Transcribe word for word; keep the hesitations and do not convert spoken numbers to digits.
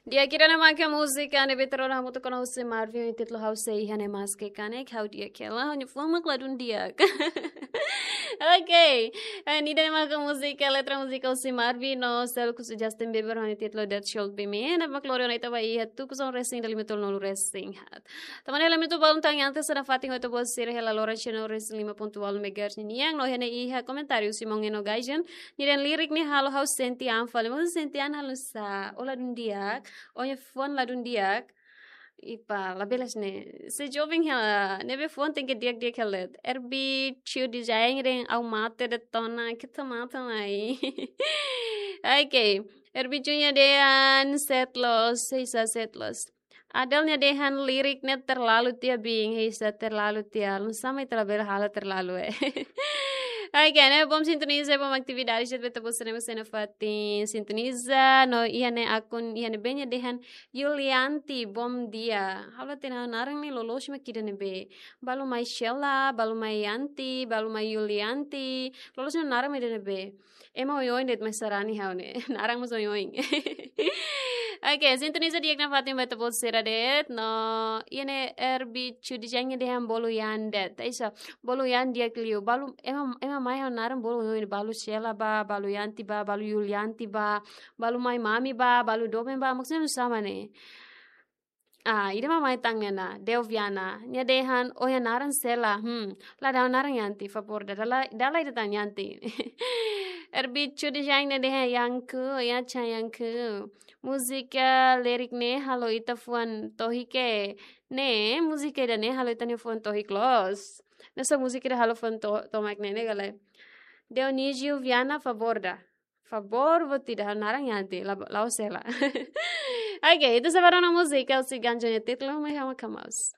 Di'ak, ida-ne'e maka múzika ne'ebé terora hamutuk ona husi Marvin, títulu Ha'u Sei Iha Ne'e Maske Kanek, ha'u di'ak hela, ha'u-nia fuan mak ladún di'ak. Ok. Eh, ida-ne'e maka múzika, letra múzika husi Marvin no selo husi Justin Bieber, ha'u-nia títulu That Should Be Me, ne'ebé mak lori ona ita ba iha tuku sanulu-resin ida, lima tolu nulu-resin haat. Tanba ne'e lamento balun tan antes, sira-nia fatin ho ita-boot sira hela loron sanulu-resin lima pontu ualu megahertz ninian, no iha ne'e iha komentáriu husi maun Eno Gajan, nia dehan lirik ne'e halo ha'u sente an fali, maun sente an halo sá, ó ladún di'ak, ó-nia fuan ladún di'ak. Epá, labelas ne'e. Se joven hela, ne'ebé fuan tenke di'ak-di'ak hela de'it. R B Chu Design dehan ha'u mate de'it ona, keta mate mai. Ok. R B Chu nia dehan sete loos, hanesan sete loos. Adel nia dehan lirik ne'e terlalu tiha, bin, hanesan terlalu tiha. Nusá mak ita labele halo terlalu, eh. Ok, ne'e bom sintoniza, bom atividade, jat beta bos sena sena fatin sintoniza, no iha ne'e akun, iha ne'ebé nia dehan Yulianti, bom dia. Ha'u la hatene naran ne'e loloos mak ida-ne'ebé. Balu mai Sheila, balu mai Yanti, balu mai Yulianti. Loloos nia naran mak ida-ne'ebé. Ema oioin de'it mai sarani ha'u ne'e. Naran mós oioin. Ok, sintoniza di'ak nafatin ba ita-boot sira de'it. No, iha ne'e R B Chu Design nia dehan bolu Yan de'it. Hanesan, bolu Yan di'ak liu. Balu, ema, ema mai ha'u naran bolu oioin. Balu Sheila ba, balu Yanti ba, balu Yulianti ba, balu mai Mami ba, balu doben ba. Maksudnya nusá mak ne'e. Ah, ida mak mai tan ne'e ona, Delviana. Nia dehan, ó-nia naran Sheila. Hmm, la dala naran Yanti, favór, dala, dala ida tan Yanti. R B Chu Design nia dehan Yanku, ya chan Yanku. Múzika lirik ne'e halo ita fuan tohik. Ne'e, múzika ida-ne'e halo ita-nia fuan tohik loos. Nusá múzika ida halo fuan to-, tomak ne'e, ne'e ka lae. Dionísio Viana, favór da. Favór, buat ida ha'u naran Yanti, la, la'ós Sheila. Ok, ita sei ba rona múzika, husi Ganjo nia títulu, Mai Ha'u Mak Hamaus.